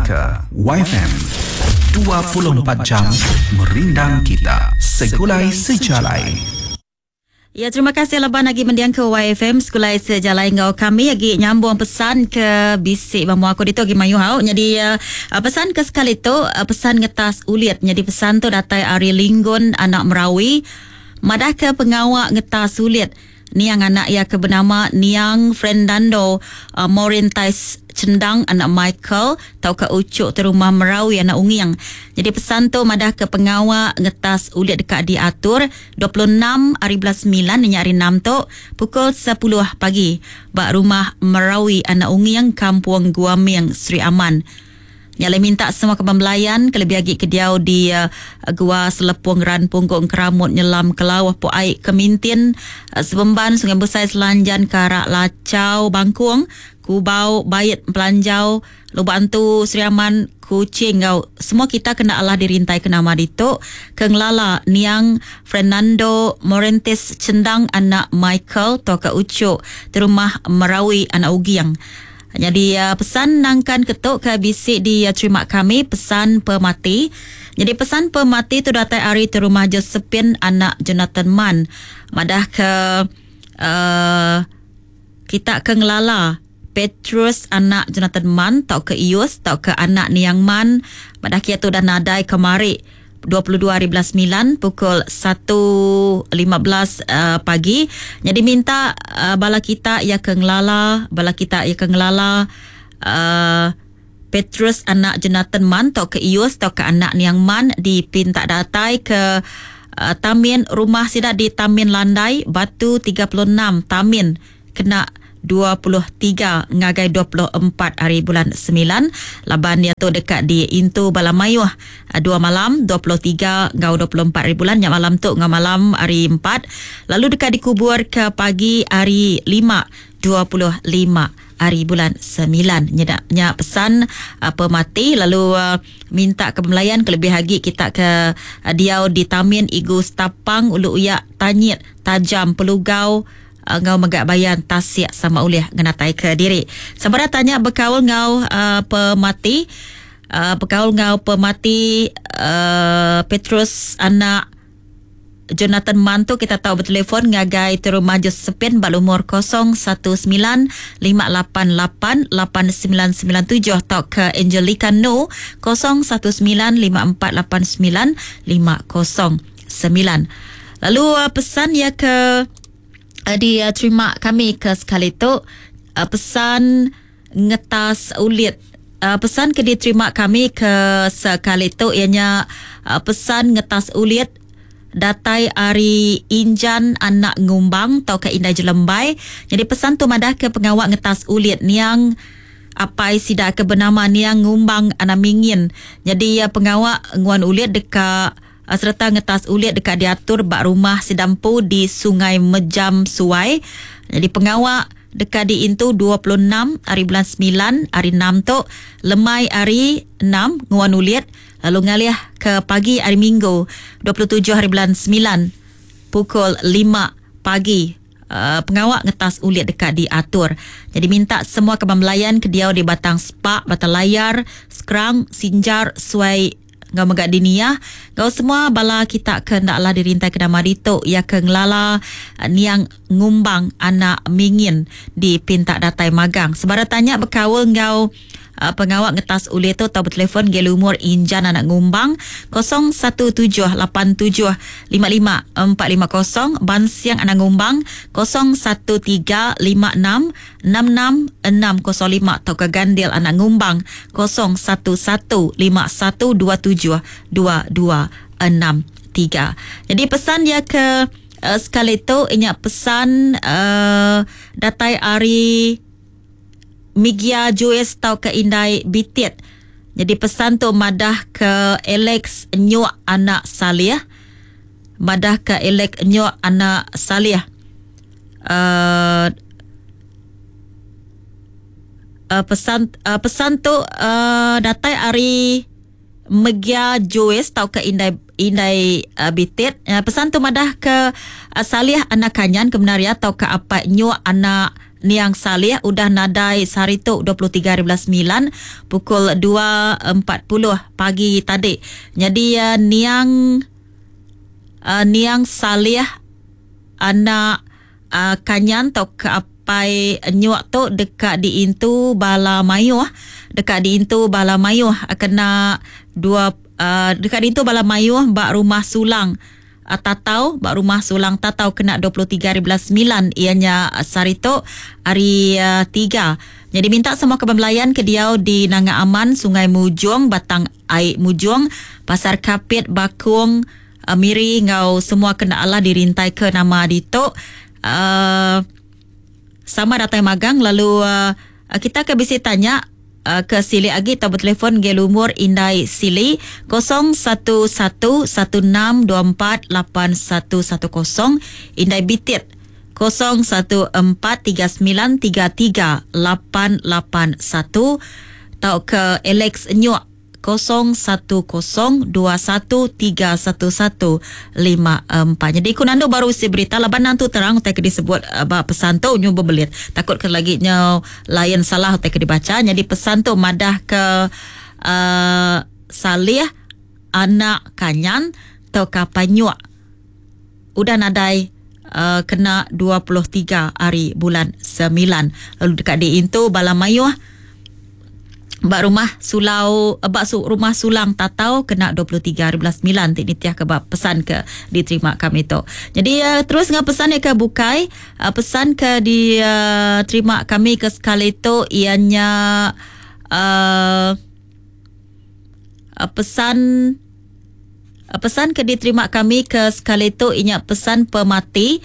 ke Waifm 24 jam merindang kita segulai sejalai. Ya terima kasih laban agi mendiang ke YFM sekulai sejalai enggau kami agi nyambung pesan ke bisi ba mua aku ditu agi mayuh au. Nyadi uh, pesan ke sekali tu uh, pesan ngetas ulit. Nyadi pesan tu datai ari Linggun anak Merawi madah ke pengawa ngetas ulit Niang anak iya ke benama Niang Frendando Maureen Tais Chendang anak Michael tauka Uchuk ti rumah Merawi anak Unging. Nyadi pesan tu madahka pengawa ngetas ulit deka diatur 26 hari bulan semilan nya hari enam tu pukul sepuluh pagi ba Rumah Merawi anak Unging Kampung Gua Ming Sri Aman. Nya alai minta semua kaban belayan kelebih agi ke diau di Gua Selepong Ran Punggung Keramut Nyelam Kelauh Pok Ai Kemintin Sebemban Sungai Besai Selanjan Karak Lachau Bangkung Kubau Bait Empelanjau Lubok Antu Sri Aman Kuching enggau semua kita kena alah dirintai ke nama ditu ke ngelala niang Fernando Morentes Chendang anak Michael tauka Uchuk Terumah Merawi anak Uging. Nyadi pesan nangkan ke tu ke bisi diterima kami pesan pemati. Nyadi pesan pemati tu datai ari tu rumah Josephine anak Jonathan Man madah ke uh, kita ke ngelala Petrus anak Jonathan Man tauka Ius tauka anak Niang Man madah kia tu dah nadai kemari 22 hari bulan 9 pukul 1.15 uh, pagi. Jadi minta uh, bala kita ya ke ngelala, bala kita ya ke ngelala uh, Petrus anak Jonathan Man tau ke Ius tau ke anak Niang Man dipinta datai ke uh, Tamin rumah sida di Tamin Landai Batu 36 Tamin kena 23 ngagai 24 hari bulan semilan laban iya tu deka diintu bala mayuh dua malam 23 enggau 24 hari bulan nya malam tu enggau malam hari empat lalu deka dikuburka pagi hari lima 25 hari bulan semilan nyeda nya pesan pemati lalu minta ke pemelayan kelebih agi kita ke diau di Tamin Igu Stapang Ulu Uyak Tanyit Tajam Pelugau Enggau mega bayan tasik sama ulih ngenataika diri. Sebedau tanya bekaul enggau uh, pemati uh, bekaul enggau pemati uh, Petrus anak Jonathan Man tu kita tau betelefon ngagai Terumah Josephine ba lumur 019 588 8997 tauka Angelica No 019 5489 509. Lalu uh, pesan ya ke uh, diterima kami ke sekali tu uh, pesan ngetas ulit uh, pesan ke diterima kami ke sekali tu ianya uh, pesan ngetas ulit datai ari Injan anak Ngumbang tauka Indai Jelembai. Jadi pesan tu madah ke pengawa ngetas ulit niang apai sida ke benama Niang Ngumbang anak Mingin. Jadi pengawa nguan ulit deka sereta ngetas ulit deka diatur ba rumah sida empu di Sungai Mejam Suai. Nyadi pengawa deka diintu 26 hari bulan semilan hari enam tu lemai hari enam nguan ulit lalu ngalih ke pagi hari minggu 27 hari bulan semilan pukul lima pagi pengawa ngetas ulit deka diatur. Nyadi minta semua kaban belayan ke diau di Batang Spak, Batang Layar, Skrang, Sinjar, Suai enggau mega di Niah enggau semua bala kita ke enda alah dirintai ke nama ditu iya ke ngelala niang ngumbang anak Mingin dipinta datai magang. Sebara tanya bekaul enggau pengawa ngetas ulih tu tau betelefon ngagai lumur Injan anak Ngumbang 017 87 55 450, Bansiang anak Ngumbang 013 56 66 605 tauka Gandil anak Ngumbang 011 51 27 22 63. Jadi pesan iya ke uh, sekali tu inya pesan uh, datai ari Migia Juis tauka Indai Bitit. Jadi pesan tu madah ke Alex Nyuk anak Salih. Madah ke Alex Nyuk anak Salih. Uh, uh, pesan uh, pesan tu uh, datai ari Megia Joyce tauka Indai Indai uh, Bitit. Uh, pesan tu madah ke uh, Salih anak Kanyan ke benar ya tauka Apai Nyuk anak Niang Salih udah nadai sehari tu 23 hari bulan semilan pukul 2.40 pagi tadi. Nyadi niang niang Salih anak Kanyan tauka apai Nyuk tu deka diintu bala mayuh deka diintu bala mayuh kena dua deka diintu bala mayuh ba Rumah Sulang Tatau ba Rumah Sulang Tatau kena 23 hari bulan semilan iya nya sehari tu hari tiga. Nyadi minta semua kaban belayan ke diau di Nanga Aman, Sungai Mujong, Batang Ai Mujong, Pasar Kapit, Bakong, Miri enggau semua ke enda alah dirintaika nama ditu uhh sama datai magang lalu kita ke bisi tanya ke silik agi tau betelefon ngagai lumur indai Sili 011 1624 8110 indai Bitit 014 3933 881 tauka Alex Nyuk 010 21 3 11 5 4. Nyadi ku nandu baru isi berita laban antu terang utai ke disebut ba pesan tu nyu bebelit. Takut ke lagi nyu lain salah utai ke dibacha. Nyadi pesan tu madah ke uhh Salih anak Kanyan tauka Panyuk udah nadai uhh kena 23 hari bulan semilan lalu deka diintu bala mayuh ba rumah Sulau ba rumah Sulang Tatau kena 23 hari bulan semilan ti nitihka ba pesan ke diterima kami tu. Jadi uh, terus enggau pesan ke bukai, uh, pesan ke diterima uh, kami ke sekali tu iya nya uh, pesan pesan ke diterima kami ke sekali tu inya pesan pemati.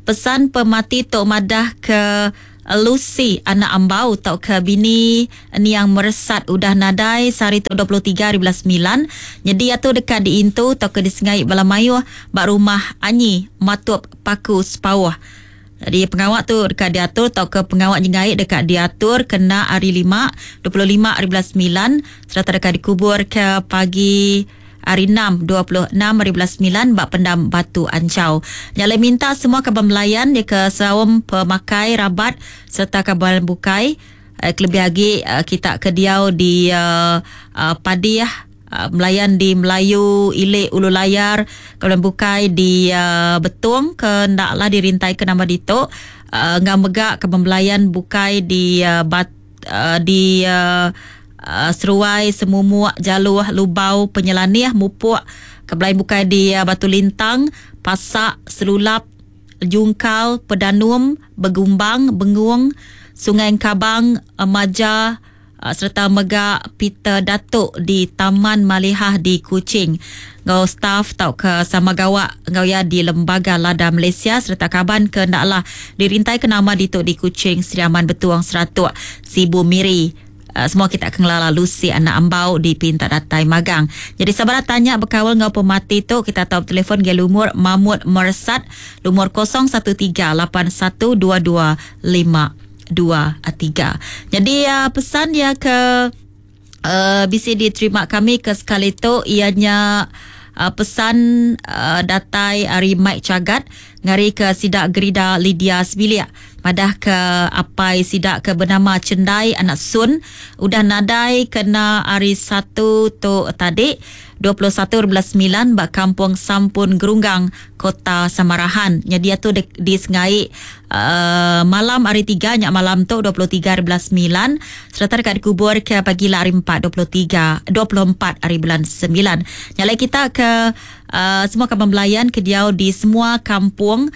Pesan pemati tu madah ke Lucy anak Ambau tauka bini niang Meresat udah nadai sehari tu 23 hari bulan semilan. Nyadi iya tu deka diintu tauka disengai bala mayuh ba rumah Anyi Matup Paku Sepauh. Nyadi pengawa tu deka diatur tauka pengawa nyengai deka diatur kena hari lima 25 hari bulan semilan sereta deka dikubur ke pagi Hari enam, 26 hari bulan semilan ba pendam Batu Anchau. Nya alai minta semua kaban belayan iya ke saum pemakai rabat sereta kaban bukai kelebih agi kita ke diau di Padih, Melayan di Melayu Ili Ulu Layar, kaban bukai di Betong ke enda lah dirintaika nama ditu enggau mega kaban belayan bukai di Bat di Seruai, Semumuk, Jaluh, Lubau, Penyelanih, Mupuk, ke belain bukai di Batu Lintang, Pasak, Selulap, Jungkal, Pedanum, Begumbang, Bengung, Sungai Engkabang, Maja sereta mega Peter Datuk di Taman Malihah di Kuching enggau staf tauka sama gawa enggau iya di Lembaga Lada Malaysia sereta kaban ke enda alah dirintaika nama ditu di Kuching, Sri Aman, Betuang, Seratuk, Sibu, Miri. Semua kita ke ngelala Lucy anak Ambau dipinta datai magang. Jadi sabar tanya bekaul enggau pemati tu kita tau betelefon ngagai lumur Mahmud Mersat lumur 013 81 22 5 2 3. Jadi pesan iya ke bisi diterima kami ke sekali tu iya nya pesan datai ari Mike Chagat ngari ke sida Gerida Lydia sebilik madah ke apai sida ke benama Chendai anak Sun udah nadai kena hari Satu tu tadi 21 hari bulan semilan ba Kampung Sampun Gerunggang Kota Samarahan. Nyadi iya tu disengai malam hari tiga nya malam tu 23 hari bulan semilan sereta deka dikubur ke pagila hari empat 23 24 hari bulan semilan. Nya alai kita ke semua kaban belayan ke diau di semua kampung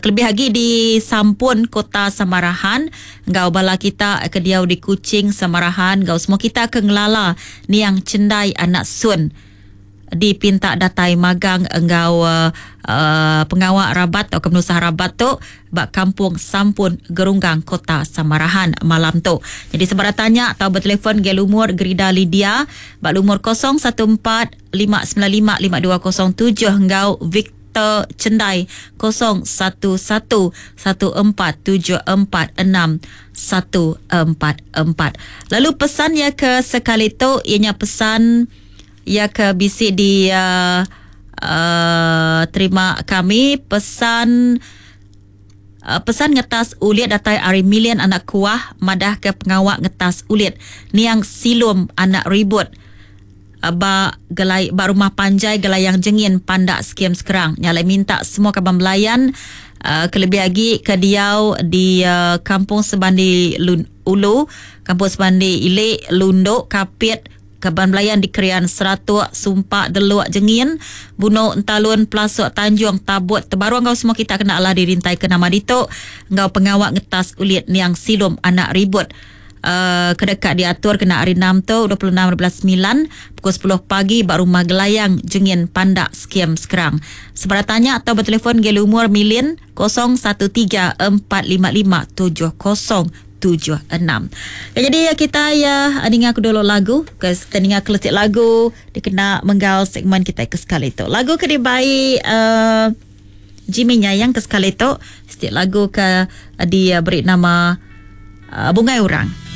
kelebih agi di Sampun Kota Samarahan enggau bala kita ke diau di Kuching Samarahan enggau semua kita ke ngelala niang Chendai anak Sun. Dipinta datai magang enggau pengawa rabat tauka penusah rabat tu ba Kampung Sampun Gerunggang Kota Samarahan malam tu. Nyadi sebarang tanya tau betelefon ngagai lumur Gerida Lydia ba lumur 014 595 5207 enggau Victor Chendai 011 1474 6144. Lalu pesan iya ke sekali tu iya nya pesan Iya ke bisi di uh, terima kami pesan Pesan ngetas ulit datai ari Million anak Kuah madah ke pengawa ngetas ulit niang Silum anak Ribut ba gelai ba rumah panjai Gelayang Jengin Pandak Skim Sekerang. Nya alai minta semua kaban belayan kelebih agi ke diau di Kampung Sebandi Ulu, Kampung Sebandi Ili, Lundu, Kapit, Kaban belayan di Krian, Seratuk, Sumpak, Deluk, Jengin, Buno, Entalun, Pelasuk, Tanjung, Tabut, Tebaru enggau semua kita kena alah dirintai ke nama ditu enggau pengawa ngetas ulit niang Silum anak Ribut uh, ke deka diatur kena hari 6 tu 26 bulan 9 pukul 10 pagi ba rumah Gelayang Jengin Pandak Skim Sekerang. Sebarang tanya atau bertelefon gel umur Milin 013 455 70 76. Ya, jadi ya, kita ya dengar aku dulu lagu. Kita dengar kelesik lagu dikena menggal segmen kita ke sekali tu. Lagu ke dibai Jimmy Nyayang ke sekali tu. Setiap lagu ke dia beri nama Bungai Orang.